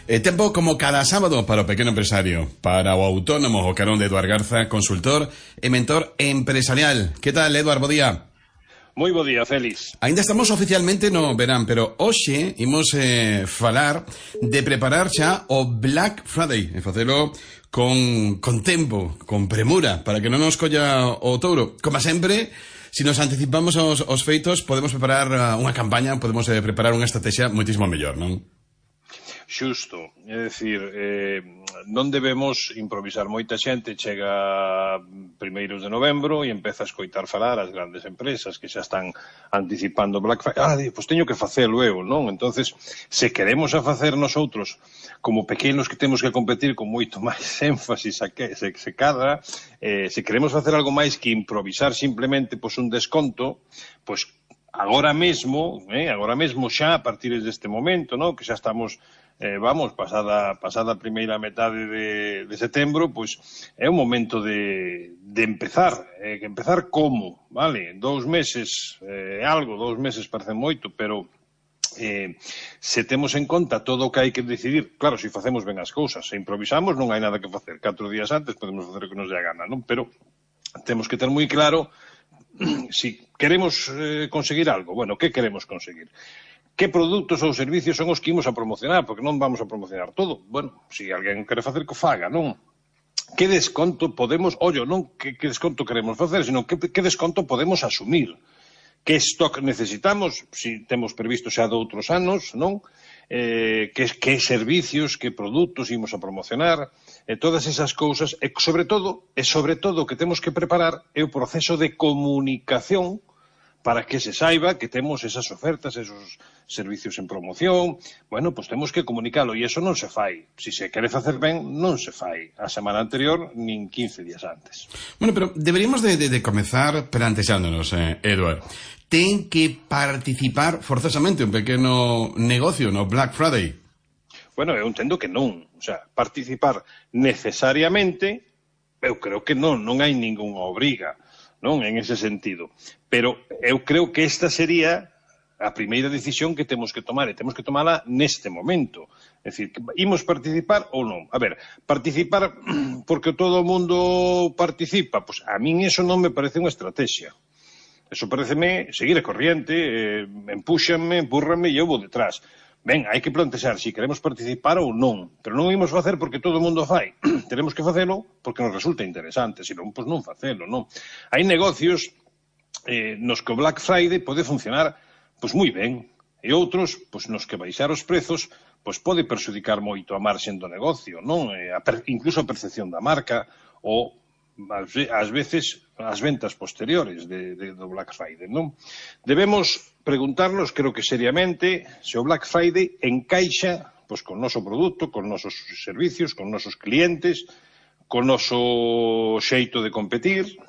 Tempo como cada sábado para o pequeno empresario, para o autónomo, o carón de Eduard Garza, consultor e mentor empresarial. Que tal, Eduard? Bo día. Moi bo día, Félix. Ainda estamos oficialmente no verán, pero hoxe imos falar de preparar xa o Black Friday, e facelo con tempo, con premura, para que non nos colla o touro. Como sempre, se nos anticipamos os feitos, podemos preparar unha campaña, podemos preparar unha estrategia moitísimo mellor, non? Xusto, é dicir, non debemos improvisar. Moita xente chega primeiros de novembro e empeza a escoitar falar as grandes empresas que xa están anticipando Black Friday. Pois teño que facelo eu, non? Entonces, se queremos a facer nosotros como pequenos que temos que competir con moito máis énfasis se cadra, se queremos facer algo máis que improvisar simplemente pois un desconto, pois agora mesmo xa a partir deste momento, non? Que xa estamos pasada a primeira metade de setembro, pois é o momento de empezar. Empezar como, vale? 2 meses, 2 meses parece moito, pero se temos en conta todo o que hai que decidir, claro, se facemos ben as cousas, se improvisamos non hai nada que facer. 4 días antes podemos facer o que nos dé a gana, non? Pero temos que ter moi claro si queremos conseguir algo. Bueno, que queremos conseguir? Que produtos ou servicios son os que imos a promocionar? Porque non vamos a promocionar todo. Bueno, se alguén quere facer, que faga, non? Que desconto podemos... non que desconto queremos facer, sino que desconto podemos asumir. Que stock necesitamos, se temos previsto xa de outros anos, non? Que servicios, que produtos imos a promocionar, todas esas cousas, e sobre todo o que temos que preparar é o proceso de comunicación para que se saiba que temos esas ofertas, esos servicios en promoción. Bueno, pois temos que comunicalo, e iso non se fai. Se se quere facer ben, non se fai a semana anterior, nin 15 días antes. Bueno, pero deberíamos de comezar plantexándonos, Eduard. Ten que participar forzosamente un pequeno negocio no Black Friday? Bueno, eu entendo que non. O sea, participar necesariamente, eu creo que non hai ningunha obriga, non, en ese sentido. Pero eu creo que esta sería a primeira decisión que temos que tomar, e temos que tomala neste momento. É dicir, imos participar ou non? A ver, participar porque todo o mundo participa, pois a min eso non me parece unha estrategia. Eso pareceme seguir a corriente, empúxanme, empúrranme e eu vou detrás. Ben, hai que plantexar se queremos participar ou non, pero non imos facer porque todo o mundo fai. Tenemos que facelo porque nos resulta interesante, senón, pois non facelo, non? Hai negocios nos que o Black Friday pode funcionar pois moi ben, e outros pois nos que baixar os prezos pois pode perxudicar moito a marxen do negocio, non? Incluso a percepción da marca ou ás veces as ventas posteriores do Black Friday, non? Debemos preguntarnos, creo que seriamente, se o Black Friday encaixa pois con o noso produto, con nosos servicios, con nosos clientes, con noso xeito de competir,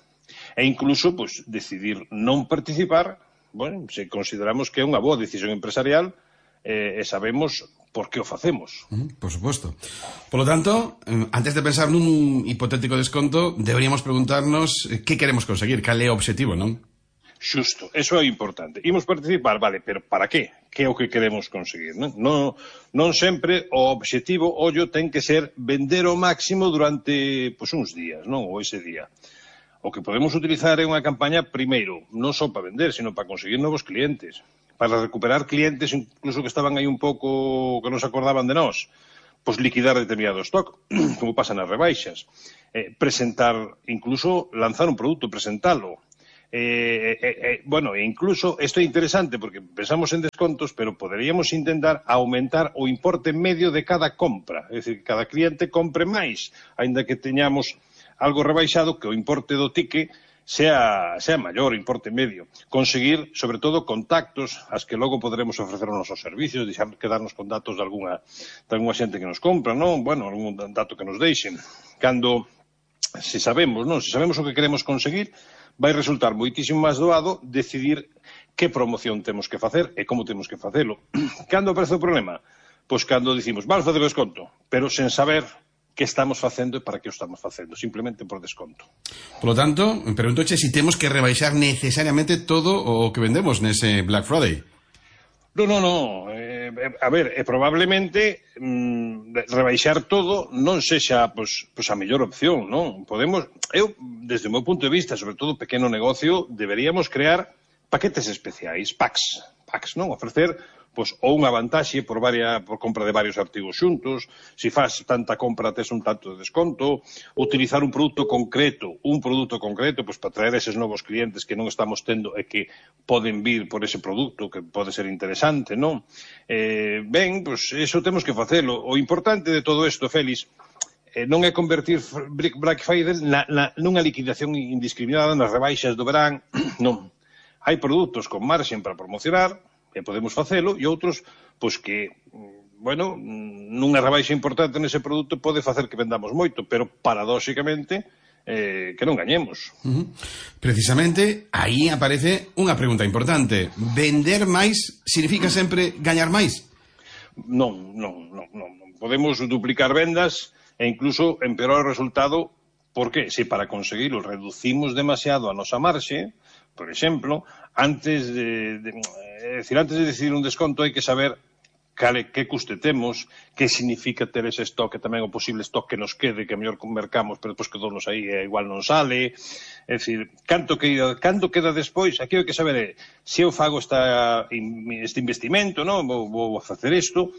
e incluso pois decidir non participar, bueno, se consideramos que é unha boa decisión empresarial e sabemos por que o facemos. Por suposto. Por lo tanto, antes de pensar nun hipotético desconto, deberíamos preguntarnos que queremos conseguir, cal é o obxectivo, non? Xusto, eso é importante. Imos participar, vale, pero para que? Que é o que queremos conseguir, non? Non sempre o obxectivo, ten que ser vender o máximo durante pois uns días, non? Ou ese día. O que podemos utilizar é unha campaña, primeiro, non só para vender, sino para conseguir novos clientes, para recuperar clientes incluso que estaban aí un pouco que non se acordaban de nós, pois liquidar determinado stock, como pasa nas rebaixas, presentar, incluso lanzar un produto, presentalo. Bueno, incluso, isto é interesante porque pensamos en descontos, pero poderíamos intentar aumentar o importe medio de cada compra, é dicir, que cada cliente compre máis, aínda que teñamos algo rebaixado, que o importe do ticket sea maior, importe medio. Conseguir, sobre todo, contactos as que logo poderemos ofrecer os nosos servicios, deixar quedarnos con datos de algunha xente que nos compra, non? Bueno, algún dato que nos deixen. Se sabemos o que queremos conseguir, vai resultar moitísimo máis doado decidir que promoción temos que facer e como temos que facelo. Cando aparece o problema? Pois cando dicimos, vamos facer desconto, pero sen saber que estamos facendo e para que o estamos facendo, simplemente por desconto. Por lo tanto, preguntoche se temos que rebaixar necesariamente todo o que vendemos nese Black Friday. Non. A ver, probablemente rebaixar todo non sexa a mellor opción, non? Eu, desde o meu punto de vista, sobre todo pequeno negocio, deberíamos crear paquetes especiais, packs, non? Ofrecer ou unha vantaxe por compra de varios artigos xuntos, se faz tanta compra tes un tanto de desconto, utilizar un produto concreto para traer eses novos clientes que non estamos tendo e que poden vir por ese produto que pode ser interesante, non? Iso temos que facelo. O importante de todo isto, Félix, non é convertir Black Friday nunha liquidación indiscriminada nas rebaixas do verán, non. Hai produtos con marxen para promocionar, e podemos facelo, e outros, que, nunha rebaixa importante nese produto pode facer que vendamos moito, pero paradóxicamente que non gañemos. Precisamente, aí aparece unha pregunta importante. Vender máis significa sempre gañar máis? Non. Podemos duplicar vendas e incluso empeorar o resultado. Por que? Se para conseguirlo reducimos demasiado a nosa marxe, por exemplo, antes de decidir un desconto hai que saber que custe temos, que significa ter ese stock, e tamén o posible stock que nos quede, que mellor mercamos, pero depois quedounos aí e igual non sale. É dicir, canto queda despois? Aquí hai que saber se eu fago este investimento, non? Vou facer isto,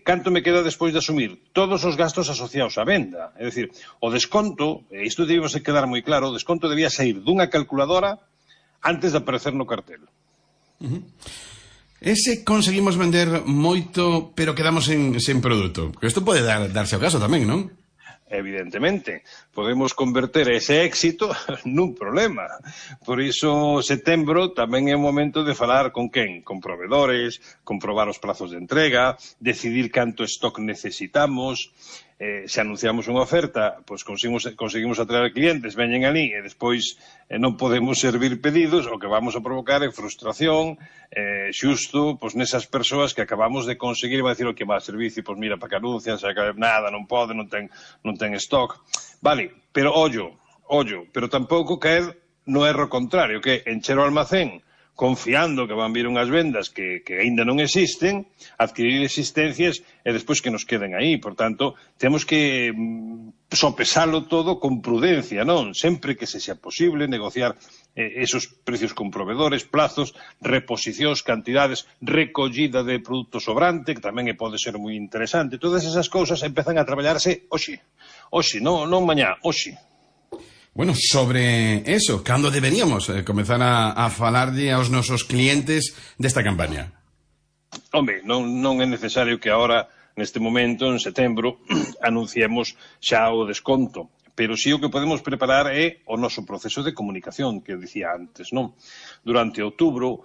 canto me queda despois de asumir todos os gastos asociados á venda. É dicir, o desconto, e isto debemos quedar moi claro, o desconto debía sair dunha calculadora antes de aparecer no cartel. Ese conseguimos vender moito, pero quedamos sen produto. Isto pode darse ao caso tamén, non? Evidentemente, podemos converter ese éxito nun problema. Por iso, setembro tamén é o momento de falar con quen? Con provedores, comprobar os prazos de entrega, decidir canto stock necesitamos. Se anunciamos unha oferta, conseguimos atraer clientes, veñen ali e despois non podemos servir pedidos, o que vamos a provocar é frustración, xusto nesas persoas que acabamos de conseguir, vai dicir o que va a servicio, mira, para que anuncian, nada, non pode, non ten stock. Vale, pero ollo, pero tampouco caer no erro contrario, que encher o almacén confiando que van vir unhas vendas que aínda non existen, adquirir existencias e despois que nos queden aí. Por tanto, temos que sopesalo todo con prudencia, non? Sempre que se xa posible negociar esos precios con provedores, plazos, reposicións, cantidades, recollida de produto sobrante, que tamén pode ser moi interesante. Todas esas cousas empezan a traballarse hoxe, non mañá, hoxe. Bueno, sobre eso, cando deberíamos comezar a falarlle aos nosos clientes desta campaña? Home, non é necesario que agora, neste momento, en setembro, anunciemos xa o desconto. Pero sí o que podemos preparar é o noso proceso de comunicación, que dicía antes, non? Durante outubro,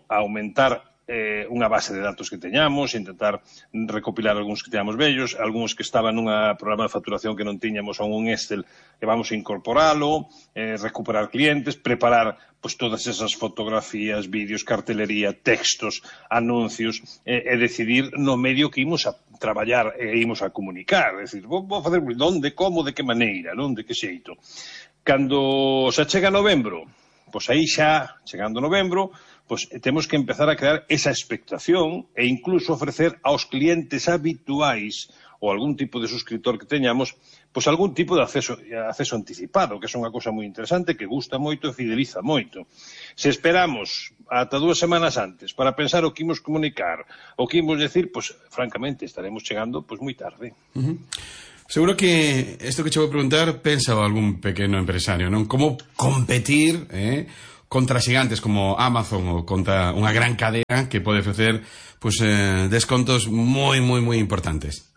aumentar unha base de datos que teñamos, intentar recopilar algúns que teñamos vellos, algúns que estaban nun programa de facturación que non tiñamos a un Excel que vamos a incorporalo, recuperar clientes, preparar todas esas fotografías, vídeos, cartelería, textos, anuncios, e decidir no medio que imos a traballar e imos a comunicar. É dicir, vou facer onde, como, de que maneira, non? De que xeito. Cando xa chega novembro, aí xa, chegando novembro, temos que empezar a crear esa expectación e incluso ofrecer aos clientes habituais ou algún tipo de suscriptor que teñamos, algún tipo de acceso anticipado, que é unha cousa moi interesante, que gusta moito e fideliza moito. Se esperamos ata 2 semanas antes para pensar o que imos comunicar, o que imos decir, francamente, estaremos chegando moi tarde. Seguro que isto que che vou preguntar pensa algún pequeno empresario, non? Como competir, contra xigantes como Amazon ou contra unha gran cadena que pode ofrecer descontos moi importantes.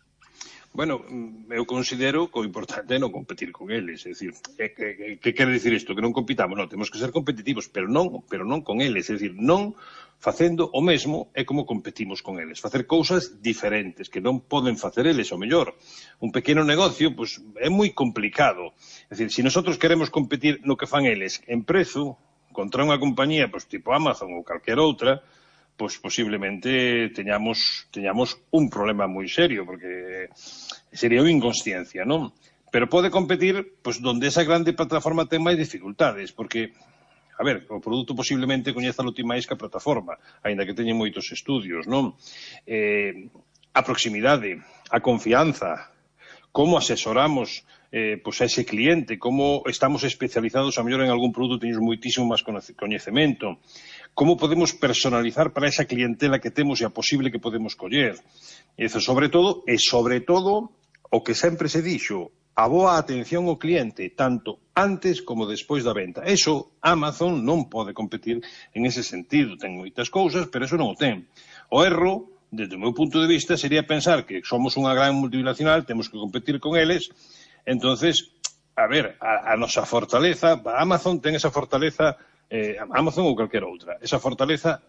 Bueno, eu considero que o importante é non competir con eles, é dicir, que quere dicir isto? Que non compitamos? Non, temos que ser competitivos, pero non con eles, é dicir, non facendo o mesmo é como competimos con eles, facer cousas diferentes que non poden facer eles, o mellor. Un pequeno negocio, é moi complicado, é dicir, se nosotros queremos competir no que fan eles en prezo contra unha compañía tipo Amazon ou calquera outra, posiblemente teñamos un problema moi serio, porque sería unha inconsciencia, non? Pero pode competir donde esa grande plataforma ten máis dificultades, porque A ver, o produto posiblemente coñézalo ti máis que a plataforma, aínda que teñen moitos estudios, non? A proximidade, a confianza, como asesoramos pois a ese cliente, como estamos especializados a mellor en algún produto, teñemos moitísimo máis coñecemento, como podemos personalizar para esa clientela que temos e a posible que podemos coller. Eso, sobre todo, o que sempre se dixo, a boa atención ao cliente, tanto antes como despois da venta. Eso, Amazon non pode competir en ese sentido. Ten moitas cousas, pero eso non o ten. O erro, desde o meu punto de vista, sería pensar que somos unha gran multinacional, temos que competir con eles. Entonces, a ver, a nosa fortaleza, Amazon ten esa fortaleza, Amazon ou calquera outra, esa fortaleza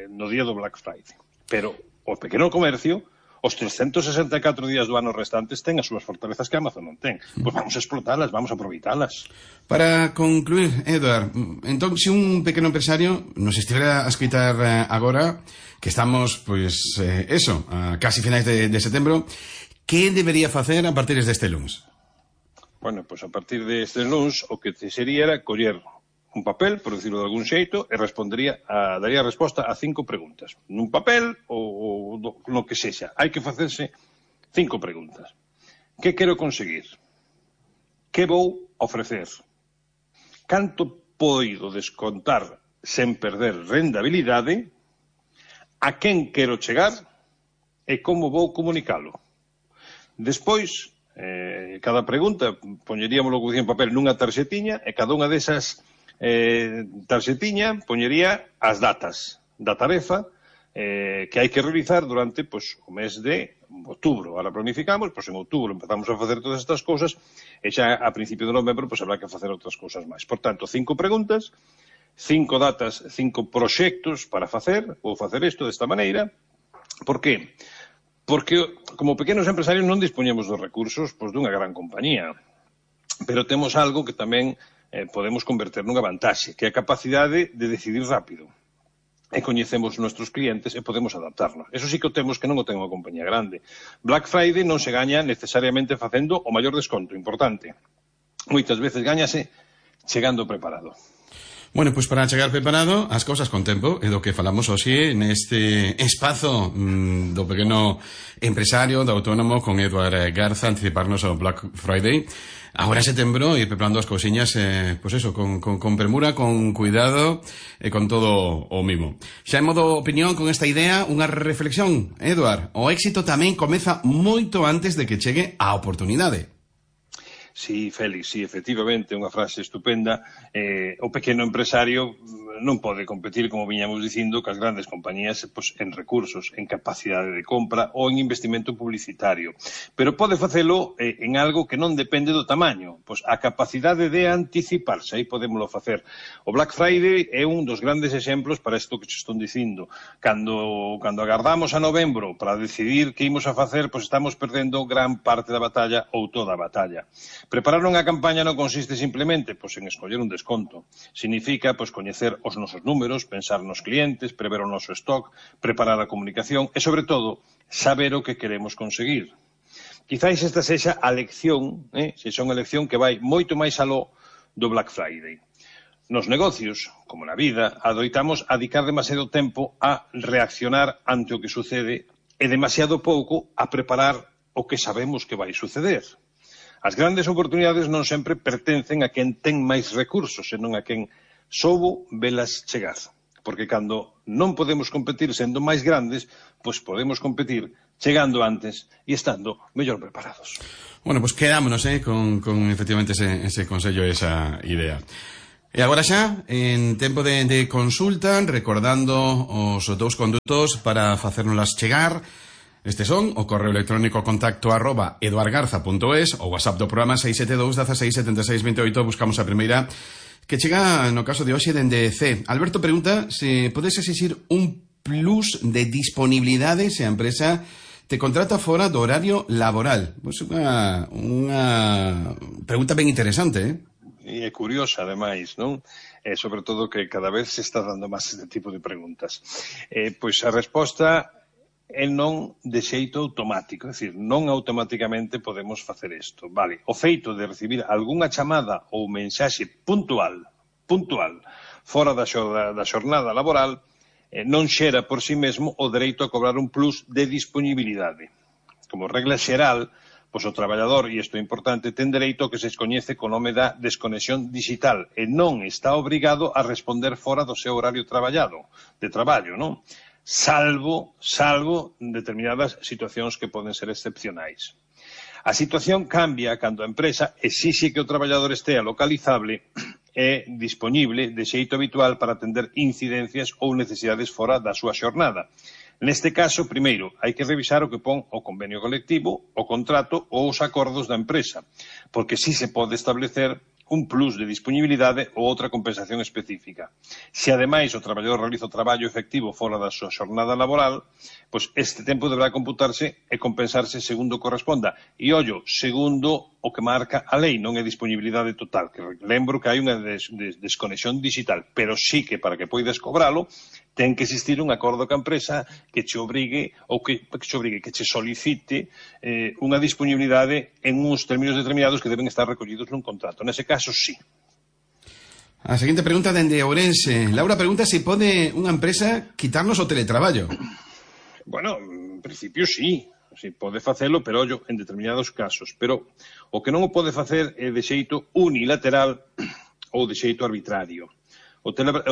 no día do Black Friday. Pero o pequeno comercio, os 364 días do ano restantes ten as súas fortalezas que Amazon non ten. Pois vamos a explotalas, vamos a aproveitalas. Para concluir, Eduard, entón, se un pequeno empresario nos estivera a escoitar agora, que estamos, pois, a casi finais de setembro, que debería facer a partir deste lunes? Bueno, pois a partir deste lunes o que sería era coller un papel, por decirlo de algún xeito, e daría resposta a 5 preguntas. Nun papel ou no que sexa. Hai que facerse 5 preguntas. Que quero conseguir? Que vou ofrecer? Canto poido descontar sen perder rendabilidade? A quen quero chegar? E como vou comunicalo? Despois, cada pregunta, poñeríamoslo como dicía en papel nunha tarxetiña, e cada unha desas tarxetiña poñería as datas da tarefa que hai que realizar durante o mes de outubro. Ahora planificamos, en outubro empezamos a facer todas estas cousas e xa a principio de novembro habrá que facer outras cousas máis. Por tanto, 5 preguntas, 5 datas, 5 proxectos para facer, vou facer isto desta maneira. Por que? Porque como pequenos empresarios non dispoñemos dos recursos dunha gran compañía, pero temos algo que tamén podemos converter nunha vantaxe, que é a capacidade de decidir rápido. E coñecemos os nosos clientes e podemos adaptarnos. Eso sí que o temos que non o ten unha compañía grande. Black Friday non se gaña necesariamente facendo o maior desconto, importante. Moitas veces gañase chegando preparado. Bueno, pois para chegar preparado as cousas con tempo é do que falamos hoxe neste espazo do pequeno empresario, do autónomo, con Eduard Garza, anticiparnos ao Black Friday. Agora en setembro ir preparando as cousiñas, con premura, con cuidado e con todo o mimo. Xa en modo opinión con esta idea, unha reflexión, Eduard. O éxito tamén comeza moito antes de que chegue a oportunidade. Sí, Félix, sí, efectivamente, unha frase estupenda. O pequeno empresario non pode competir, como viñamos dicindo, cas grandes compañías en recursos, en capacidade de compra ou en investimento publicitario. Pero pode facelo en algo que non depende do tamaño, a capacidade de anticiparse, aí podémoslo facer. O Black Friday é un dos grandes exemplos para isto que se estón dicindo. Cando agardamos a novembro para decidir que imos a facer, estamos perdendo gran parte da batalla ou toda a batalla. Preparar unha campaña non consiste simplemente en escoller un desconto. Significa coñecer os nosos números, pensar nos clientes, prever o noso stock, preparar a comunicación e, sobre todo, saber o que queremos conseguir. Quizáis esta sexa a lección, sexa unha lección que vai moito máis aló do Black Friday. Nos negocios, como na vida, adoitamos a dedicar demasiado tempo a reaccionar ante o que sucede e demasiado pouco a preparar o que sabemos que vai suceder. As grandes oportunidades non sempre pertencen a quen ten máis recursos, senón a quen soubo velas chegar. Porque cando non podemos competir sendo máis grandes, podemos competir chegando antes e estando mellor preparados. Bueno, quedámonos con efectivamente ese consello e esa idea. E agora xa, en tempo de consulta, recordando os dous condutos para facérnoslas chegar. Estes son o correo electrónico contacto@eduardgarza.es, o WhatsApp do programa 672 16 76 28. Buscamos a primeira que chega no caso de hoxe dende C. Alberto pregunta se podes exixir un plus de disponibilidade se a empresa te contrata fora do horario laboral. Unha pregunta ben interesante, E é curiosa, ademais, non? Sobre todo que cada vez se está dando máis este tipo de preguntas. A resposta é non de xeito automático, é dicir, non automáticamente podemos facer isto. Vale, o feito de recibir algunha chamada ou mensaxe puntual, fora da xornada laboral, non xera por si mesmo o dereito a cobrar un plus de disponibilidade. Como regla xeral, pois o traballador, e isto é importante, ten dereito ao que se coñece co nome da desconexión digital e non está obrigado a responder fora do seu horario de traballo, non? Salvo determinadas situacións que poden ser excepcionais. A situación cambia cando a empresa exixe que o traballador estea localizable e disponible de xeito habitual para atender incidencias ou necesidades fora da súa xornada. Neste caso, primeiro, hai que revisar o que pon o convenio colectivo, o contrato ou os acordos da empresa, porque si se pode establecer un plus de disponibilidade ou outra compensación específica. Se, ademais, o traballador realiza o traballo efectivo fora da súa xornada laboral, pois este tempo deberá computarse e compensarse segundo corresponda. E, ollo, segundo o que marca a lei, non é disponibilidade total, que lembro que hai unha desconexión digital, pero sí que para que poidas cobralo, ten que existir un acordo ca empresa que che obrigue, ou que che solicite unha disponibilidade en uns términos determinados que deben estar recollidos nun contrato. Nese caso, sí. A seguinte pregunta dende Ourense. Laura pregunta se pode unha empresa quitarnos o teletraballo. Bueno, en principio sí. Si pode facelo, pero ollo, en determinados casos. Pero o que non o pode facer é de xeito unilateral ou de xeito arbitrario.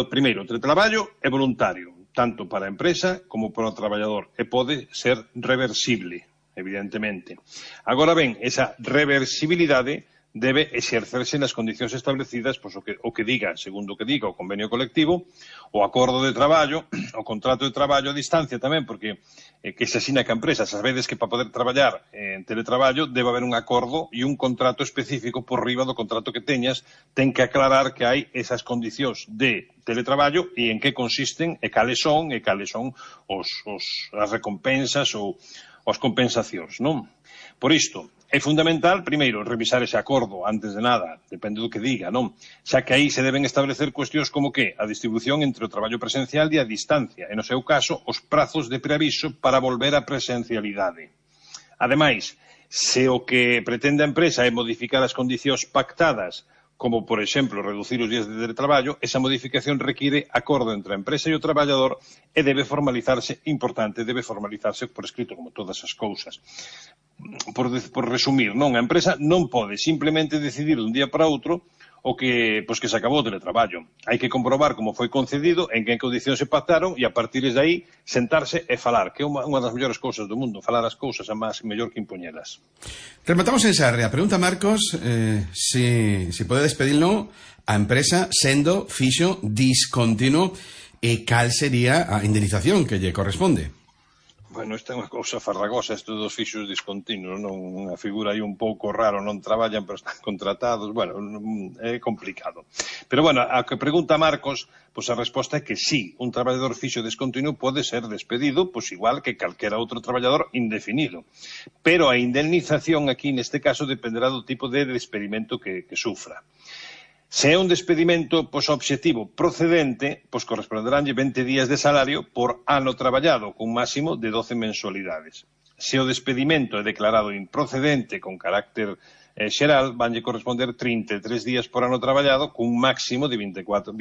Primeiro, o teletraballo é voluntario, tanto para a empresa como para o traballador, e pode ser reversible, evidentemente. Agora ben, esa reversibilidade debe exercerse nas condicións establecidas, pois, o que diga, segundo o que diga o convenio colectivo, o acordo de traballo, o contrato de traballo a distancia tamén, porque que se asina que a empresa, sabedes que para poder traballar en teletraballo debe haber un acordo e un contrato específico por riba do contrato que teñas, ten que aclarar que hai esas condicións de teletraballo e en que consisten e cales son as recompensas ou as compensacións, non? Por isto, é fundamental, primeiro, revisar ese acordo antes de nada, depende do que diga, non? Xa que aí se deben establecer cuestións como que a distribución entre o traballo presencial e a distancia, e no seu caso, os prazos de preaviso para volver á presencialidade. Ademais, se o que pretende a empresa é modificar as condicións pactadas, como, por exemplo, reducir os días de teletraballo, esa modificación require acordo entre a empresa e o traballador e debe formalizarse por escrito, como todas as cousas. Por resumir, non, a empresa non pode simplemente decidir dun día para outro o que se acabou o teletraballo. Hai que comprobar como foi concedido, en que condicións se pactaron e a partir de aí sentarse e falar, que é unha das mellores cousas do mundo, falar as cousas é máis mellor que impoñelas. Rematamos en Sarria. Pregunta Marcos si pode despedirlo a empresa sendo fixo discontinuo e cal sería a indemnización que lle corresponde. Bueno, esta é unha cousa farragosa, isto dos fixos discontinuos, non? Unha figura aí un pouco raro, non traballan, pero están contratados, bueno, é complicado. Pero, bueno, a que pregunta Marcos, pois a resposta é que sí, un traballador fixo discontinuo pode ser despedido, pois igual que calquera outro traballador indefinido. Pero a indemnización aquí, neste caso, dependerá do tipo de despedimento que sufra. Se é un despedimento obxectivo procedente, corresponderánlle 20 días de salario por ano traballado, cun máximo de 12 mensualidades. Se o despedimento é declarado improcedente con carácter xeral, vanlle corresponder 33 días por ano traballado, cun máximo de 24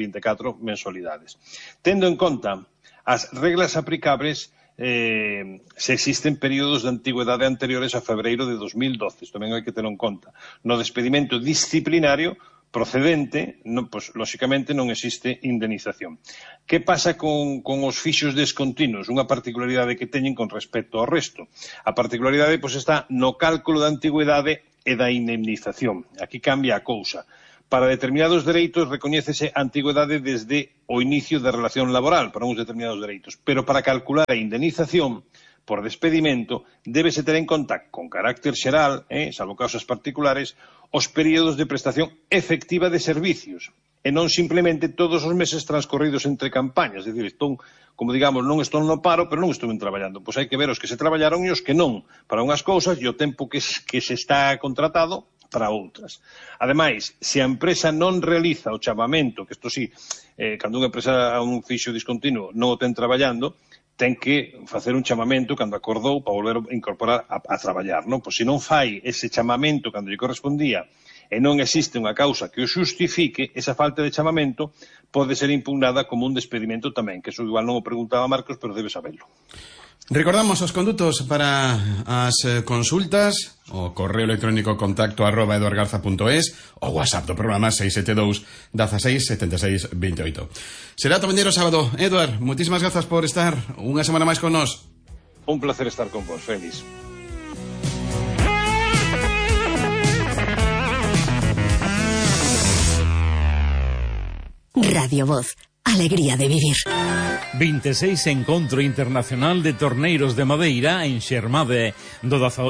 mensualidades. Tendo en conta as reglas aplicables, se existen períodos de antigüedade anteriores a febreiro de 2012, isto tamén hai que ter en conta. No despedimento disciplinario procedente, lóxicamente non existe indemnización. Que pasa con os fixos descontinuos? Unha particularidade que teñen con respecto ao resto. A particularidade está no cálculo da antigüedade e da indemnización. Aquí cambia a cousa. Para determinados dereitos recoñécese a antigüedade desde o inicio da relación laboral, para uns determinados dereitos. Pero para calcular a indemnización por despedimento, débese ter en conta, con carácter xeral, salvo causas particulares, os períodos de prestación efectiva de servicios, e non simplemente todos os meses transcorridos entre campañas. É dicir, como digamos, non estou no paro, pero non estou traballando. Pois hai que ver os que se traballaron e os que non, para unhas cousas e o tempo que se está contratado para outras. Ademais, se a empresa non realiza o chamamento, que isto sí, cando unha empresa a un fixo discontinuo non o ten traballando, ten que facer un chamamento cando acordou para volver a incorporar a traballar, non? Pois se non fai ese chamamento cando lle correspondía e non existe unha causa que o xustifique, esa falta de chamamento pode ser impugnada como un despedimento tamén, que eso igual non o preguntaba Marcos, pero debe saberlo. Recordamos os condutos para as consultas, o correo electrónico contacto@eduardgarza.es, o WhatsApp do programa 672 16 76 28. Será ata mañana sábado. Eduard, moitísimas grazas por estar unha semana máis con nós. Un placer estar con vos, Félix. Radio Voz, alegría de vivir. 26 Encontro Internacional de Torneiros de Madeira en Xermade, do 18